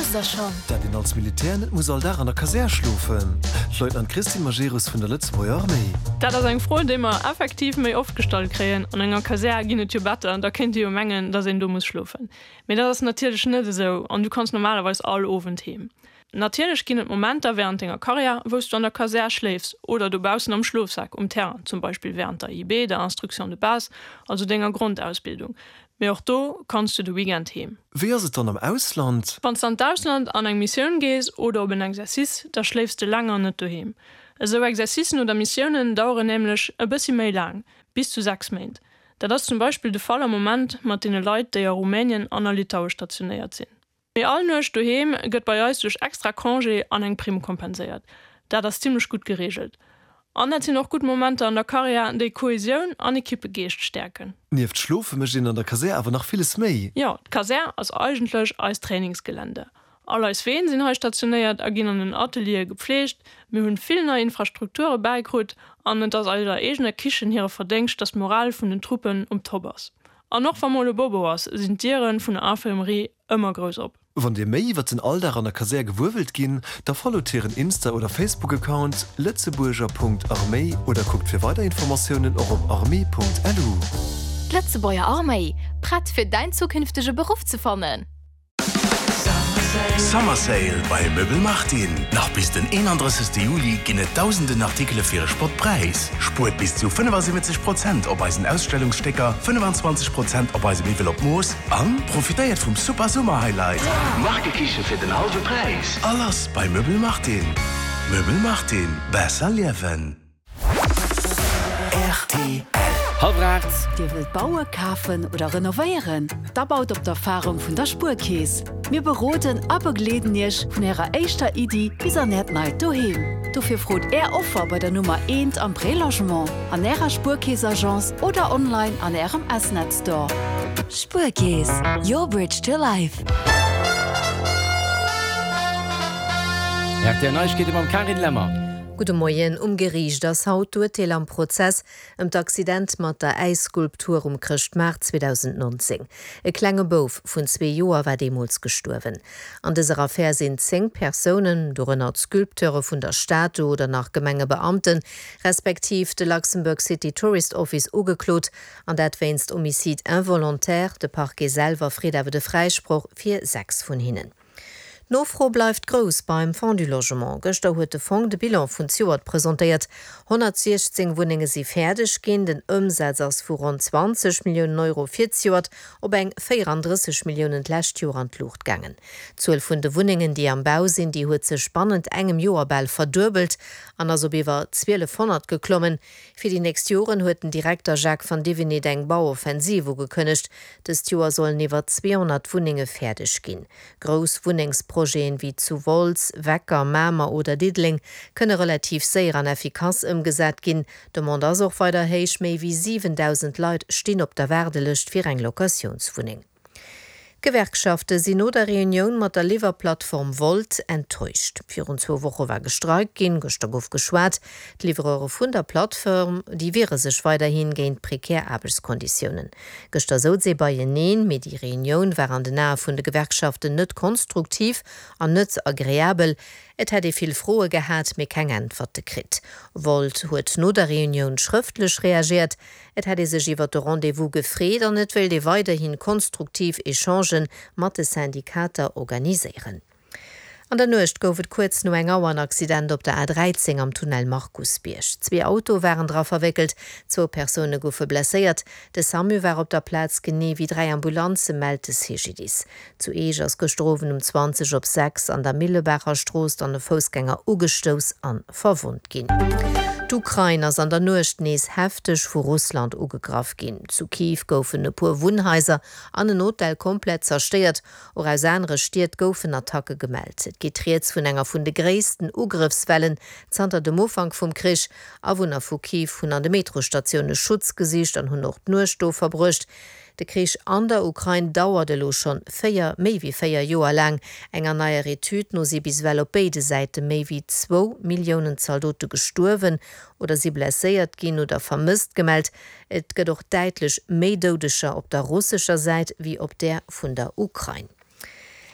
Wousst der schonn? Dat een als Militär net muss all Dag an der Kasär schlofen? D'Leutnant Christine Majerus vun der Lëtzebuerger Arméi. Dat ass eng Fro, déi mer effektiv méi oft gestallt kréien. An enger Kasär ginn et jo Better, da kéint ee jo mengen, datt een do muss schlofen. Mee dat ass natierlech net esou an du kanns normalerweis all Owend heem. Natierlech ginn et Momenter wärend denger Karriär, wou s du an der Kasär schléifs oder dobaussen am Schlofsak um Terrain, zum Beispill wärend der IB, der Instruction de base, also denger Grondausbildung. Mee och do kanns du de Weekend heem. Wéi ass et dann am Ausland? Wann s de an d'Ausland an eng Missioun gees oder op en Exercice, da schléifs de länger net doheem. Esou Exercicen oder Missiounen daueren nämlech e bëssi méi laang, bis zu 6 Méint. Dat ass zum Beispill de Fall am Moment mat deene Leit, déi a Rumänien an a Litaue stationéiert sinn. Mee all Nuecht doheem gëtt bei eis duerch extra Congé an eng Primm kompenséiert. Dat ass zimmlech gutt gereegelt. An dat sinn och gutt Momenter an der Karriär, déi Kohesioun an Ekippegeescht stäerken. Nieft Schlofe mécht een an der Kasär awer nach villes méi. Jo, d'Kasär ass eigentlech eist Trainingsgelände. All eis Ween sinn hei stationéiert a ginn an den Ateliere gepflegt. Mir hunn vill nei Infrastrukture bäikrut an et ass eiser eegener Kichen hire Verdéngscht, dass d'Moral vun den Truppen um Top ass. An och wa mol e Bobo ass, sinn d'Diere vun der Infirmerie ëmmer grouss op. Wann Dir méi iwwer den Alldag an der Kasär gewuer wëllt ginn, da followt hiren Insta oder Facebook-Account lëtzebuerger.arméi oder kuckt fir weider Informatiounen och op armee.lu. D'Lëtzebuerger Arméi, prett fir däin zukünftege Beruff ze fannen? Summer Sale bei Möbel Martin! Nach bis den 31. Juli ginn et dausenden Artikele fir e Spottpräis. Spuert bis zu 75 Prozent op eisen Ausstellungsstécker, 25 Prozent op eise Miwwel op Mooss an profitéiert vum super Summer Highlight! Markekiche fir den hallwe Präis! A lass bei Möbel Martin! Möbel Martin, besser liewen! Rtl. Hallwer 8. Dir wëllt baue, kafen oder renovéieren? Da baut op d'Erfarung vun der Spuerkeess. Mir beroden a begleeden Iech vun Ärer éischter Iddi bis an Äert neit Doheem. Dofir frot Är Offer bei der Nummer eent am Prélogement, an Ärer Spuerkeess-Agence oder online an Ärem S-Net Store. Spuerkeess, your bridge to life. Rtl Neiegkeete mam Carine Lemmer. Gudde Moien. Um Geriicht ass haut d'Urteel am Prozess ëm d'Accident mat der Äisskulptur um Chrëschtmaart 2019. E klenge Bouf vun zwee Joer war deemools gestuerwen. An dëser Affär sinn 10 Persounen, dorënner d'Sculpteure vun der Statu oder nach Gemengebeamten, respektiv de Luxembourg City Tourist Office ugeklot, an dat wéinst Homicide involontaire. De Parquet selwer freet awer de Fräisproch fir 6 vun hinnen. D'Nofro bleift grouss beim Fonds du Logement. Gëschter huet de Fong de Bilan vun zejoert presentéiert. 116 Wunnenge si fäerdeg ginn. Den Ëmsaz ass vu ronn 20 Milliounen Euro fir zejoert op eng 34 Milliounen d'lescht Joer an d'Luucht gaangen. D'Zuel vun de Wunnengen, déi am Bau sinn, déi huet sech bannent engem Joer bal verduebelt an ass op iwwer 1.200 geklommen. Fir déi nächst Joren huet den Direkter Jacques Vandivinit eng Bauoffensiv ugekënnegt. Dëst Joer sollen iwwer 200 Wunnenge fäerdeg ginn. Grouss Wunnengsprojeten wéi zu Wolz, Wecker, Mamer oder Diddeleng kënne relativ séier an effikass ëmgesat ginn. D'Demande ass och weider héich, méi wéi 7.000 Leit stinn op der Waardelëscht fir eng Locatiounswunneng. D'Gewerkschafte sinn no der Reunioun mat der Liwwerplattform Wolt enttäuscht. Virun zwou Woche war gestreikt ginn, gëschter gouf geschwat. D'Livreure vun der Plattform, déi wiere sech weiderhi géint prekär Aarbechtskonditiounen. Gëschter souz ee beieneen, mee déi Reunioun war an den Ae vun de Gewerkschaften net konstruktiv an net agreabel. Et hätt ee vill Froe gehat, mee keng Äntwerte kritt. Wolt huet no der Reunioun schrëftlech reagiert. Et hätt ee sech iwwer de Rendez-vous gefreet an et wéilt ee weiderhi konstruktiv Echangen mat de Syndikater organiséieren. An der Nuecht gouf et kuerz no eng Auer en Accident op der A13 am Tunnel Markusbierg. Zwee Autoe waren dra verwéckelt, zwou Persoune goufe blesséiert. De Samu war op der Plaz, genee wéi 3 Ambulanze, mellt de CGDIS. Zu Eech ass gëschter Owend um 20 op 6 an der Millebaacherstrooss dann e Foussgänger ugestouss an verwonnt ginn. D'Ukrain ass an der Nuecht nees hefteg vu Russland ugegraff ginn. Zu Kiew goufen e puer Wunnhaiser an en Hotel komplett zerstéiert. Och aus anere Stied goufen Attacke gemellt. Et geet rieds vun enger vun de gréissten Ugrëffswellen zanter dem Ufank vum Krich. Awunner vu Kiew hunn an de Metrostatioune Schutz gesicht an hunn och d'Nuecht do verbruecht. De Krich an der Ukrain dauert elo schonn 4, méi wéi 4 Joer laang. Enger neier Etüd no si bis ewell op béide Säite méi wéi zwou Milliounen Zaldote gestuerwen oder si blesséiert ginn oder vermësst gemellt. Et gëtt och däitlech méi Doudeger op der russescher Säit wéi op där vun der Ukrain.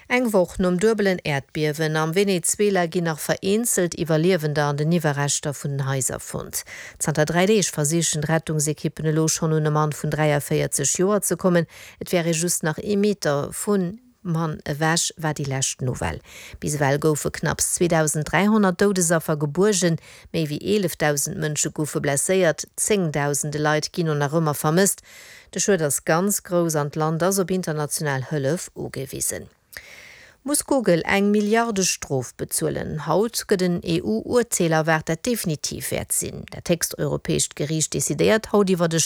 Eng Woch nom duebelen Äerdbiewen am Venezuela ginn nach vereenzelt Iwwerliewender an den Iwwerreschter vun den Haiser fonnt. Zanter 3 Deeg versichen d'Rettungsekippen elo schonn un e Mann vun 43 Joer ze kommen. Et wär ee just nach ee Meter vun Mann ewech, war déi lescht Nouvelle. Bis ewell goufe knapps 2.300 Doudesaffer gebuergen, méi wéi 11.000 Mënsche goufe blesséiert, zéngdausende Leit ginn och nach ëmmer vermësst. De Schued ass ganz grouss an d'Land ass op international Hëllef ugewisen. Muss Google eng Milliardestrof bezuelen? Haut gëtt en EU-Urteel erwaart, dat definitiv wäert sinn. Dat héchst europäescht Geriicht decidéiert haut iwwert e.